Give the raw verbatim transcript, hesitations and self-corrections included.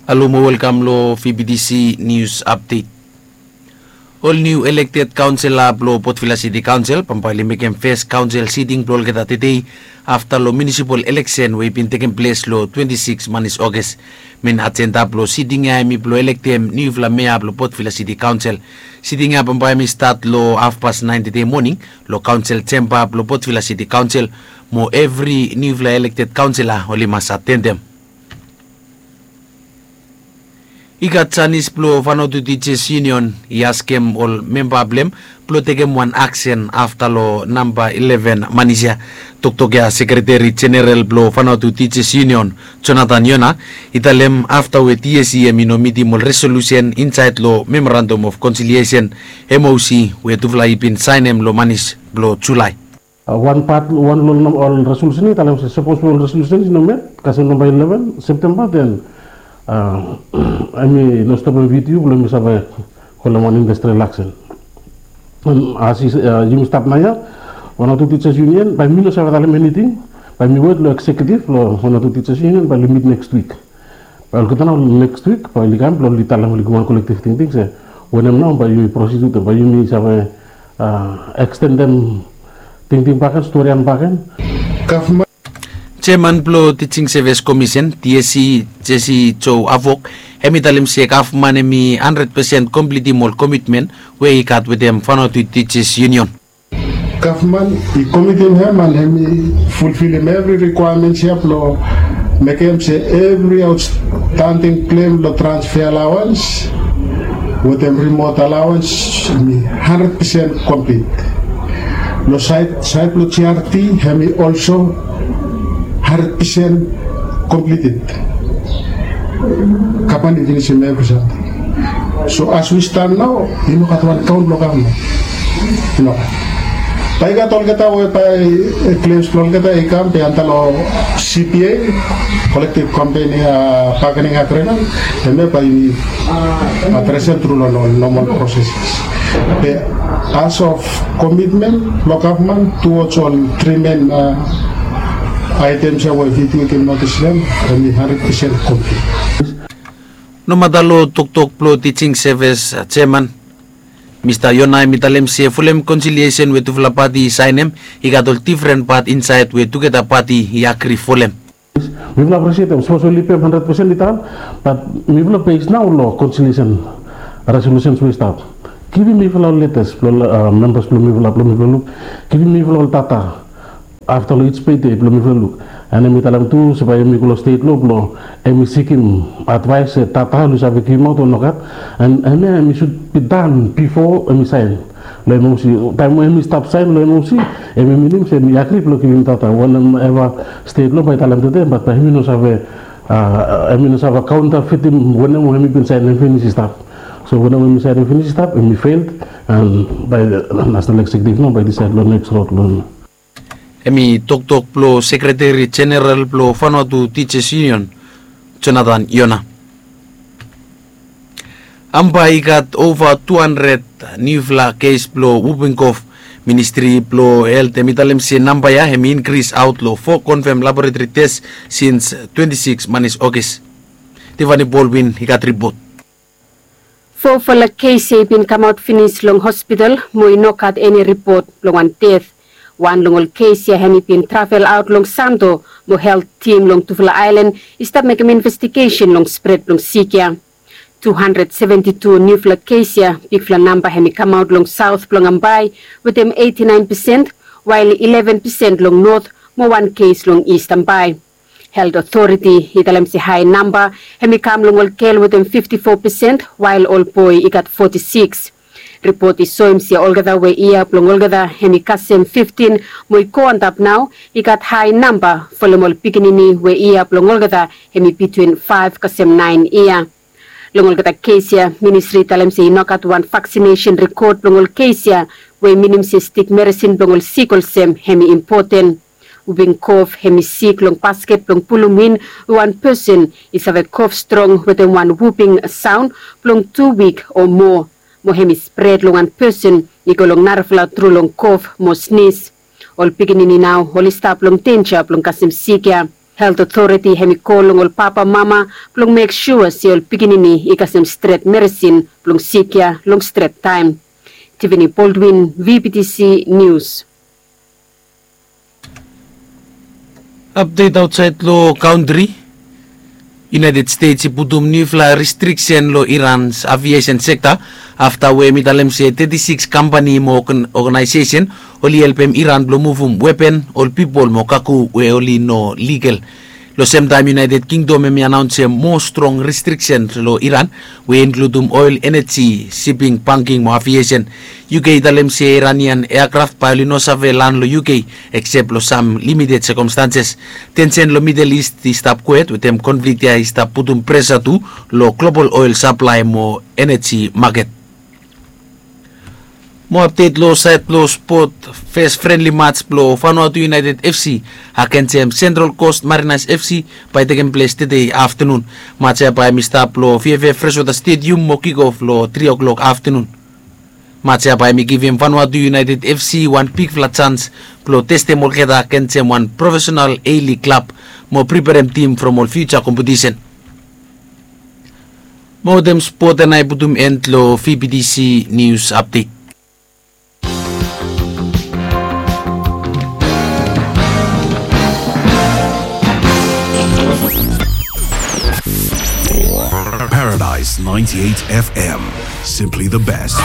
Alo mo welkam long V B T C News Update. Ol niu elekted kaonsela blong Port Vila City Kaonsel bambae oli mekem fes kaonsel siting blong olgeta tedei afta long munisipal eleksen we i bin tekem ples long twenti sikis manis Oges. Men ajenda blong siting ya hemi blong elektem niufala mea blong Port Vila City Kaonsel. Siting ya bambae hemi stat long hafpas naen tedei moning long kaonsel jemba blong Port Vila City Kaonsel, mo evri niufala elekted kaonsela oli mas atendem. I gat sanis blong Vanuatu Teachers Union i askem ol memba blong hem blong tekem wan aksen afta long namba eleven manis ya. Toktok ya Sekreteri Jeneral blong Vanuatu Teachers Union, Jonathan Yona, i talem afta we TSC hemi no mitim ol resolusen insaed long Memorandum of Conciliation, MOC, we tufala i bin saenem long manis blong Julae. Wan pat, wan long ol resolusen i talem se sapos ol resolusen i no met kasem namba eleven Septemba, den hemi no stopem VTU blong hemi save holem wan industrial aksen. As yumi stap naoia, Vanuatu Teachers Union, bae mi no save talem eniting. Bae mi wet long eksekiutiv blong Vanuatu Teachers Union bae oli mit neks wik. Bae olgeta nao neks wik bae oli kam blong oli talem, oli givim wan kolektiv tingting se wanem nao bae yumi prosid wetem, bae yumi save ekstendem tingting bakegen, storian bakegen. Jeman blong Teaching Service Commission, TSC, Jesse Joe Avok, hemi talem se gavman hemi handred pesen komplitim ol komitmen we i gat wetem Vanuatu Teachers Union. Gavman i komitim hem and hemi fulfilim evri rikwaemens ya blong mekem se evri aotstanding klem long transfe alawans wetem rimot alawans hemi handred pesen komplit. Long saed, saed blong GRT hemi olso handred pesen komplited. Gavman i finisim evri samting. So as we stand nao, i no gat wan kaon blong gavman. I no gat. Bae i gat olgeta we bae klems blong olgeta i kam be anda long CBA, Collective Company Bargaining Agreement, hemia bae yumi adresem tru long ol nomal proseses. Be as of komitmen blong gavman tuwoj ol tri men aetems ya we VTU i givim notis long hem, hemi handred pesen komplit. Nomata long toktok blong Teaching Service Jeman, Mista Yona hemi talem se folem konsiliesen we tufala pati i saenem, i gat ol difren pat insaed we tugeta pati i agri folem. Mifala aprisietem sapos ol i pem handred pesen i tan, bat mifala bes nao long konsiliesen resolusens we i stap. Givim mifala ol letas blong membas blong mifala, blong mifala luk. Givim mifala ol data afta long ij pede blong mifala luk. And hemi talem tu se bae hemi go long stet lo blong hemi sikim advaes se data oli save givimaot o nogat. And hemia hemi sud bi dan bifo hemi saen long MOC. Taem we hemi stap saen long MOC, hemi minim se hemi agri blong givim data. Wanem eva stet lo bae i talem tede, bat bae hemi no save, hemi no save kaontafitim wanem we hemi bin saenem finis i stap. So wanem we hemi saenem finis i stap, hemi feiled. And bae nasenal eksekiutiv nao bae i disaed long neks rod long Hemi toktok blong Sekreteri Jeneral blong Vanuatu Teachers Union, Jonathan Yona. Bambae i gat ova tu handred niufala kes blong wuping kof. Ministri blong Helt hemi talem se namba ya hemi inkris aot long fo konfam laboretori tes sins twenti sikis manis Ogis. Tiffany Baldwin i gat ripot. Fofala kes ya i bin kamaot finis long hospital mo i no gat eni ripot blong wan det. Wan long ol kes ya hemi bin travel aot long Santo mo helt tim long tufala aelan i stap mekem investigesen long spred blong sik ya. Tu handred seventi tu niufala kes ya, bigfala namba hemi kamaot long saot blong bambae wetem eiti naen pesen, wael ileven pesen long not mo wan kes long Ist bambae. Helt Otoriti i talem se hae namba hemi kam long ol gel wetem fifti fo pesen, wael ol boe i gat foti sikis. Ripot i soem se olgeta we yia blong olgeta hemi kasem fiftin mo i go antap nao i gat hae namba folem ol pikinini we yia blong olgeta hemi bitwin faef kasem naen yia. Long olgeta kes ya, ministri i talem se i no gat wan vaksinesen rekod blong ol kes ya, we i minim se stik meresin blong ol sik olsem hemi impoten. Wuping kof hemi sik long basket blong pulum in we wan pesen i save kof strong wetem wan wuping saon blong tu wik o moa, mo hemi spred long wan pesen i go long narafala tru long kof mo snis. Ol pikinini nao oli stap long denja blong kasem sik ya. Helt otoriti hem i kol long ol papa mama blong mek sua se ol pikinini i kasem stret meresin blong sik ya long stret taem. Tivini Boldwin, VBTC Nius. Apdet aotsaed long kantri. United States i putum niufala restriksen long Iran's aviesen sekta afta we hem i talem se teti siks kampani mo oganaesesen oli helpem Iran blong muvum wepen, ol pipol mo kago we oli no ligal. Long semtaem United Kingdom hem i anaonsem moa strong restriksen long Iran we i inkludum oel, eneji, siping, banking mo aviesen. UK i talem se Iranian eakraf bae oli no save lan long UK eksep long sam limited sekomstanses. Tensen long Midel Ist i stap kwet wetem konflik ya i stap putum presa tu long global oel saplae mo eneji maket. Moa apdet long saed blong spot. Fes frenli mats blong Vanuatu United FC agensem Central Coast Mariners FC bae i tekem ples tede aftenun. Mats ya bae hem i stap long VFF Freshwater Stadium mo kikof long tri o'clock aftenun. Mats ya bae hem i givim Vanuatu United FC wan bigfala jans blong testem olgeta agensem wan profesenal A-League klab mo priperem tim from ol fiuja kompetisen. Mo wetem spot ya nao i putum en long VBTC Nius Apdet. Paradise ninety-eight FM. Simply the best.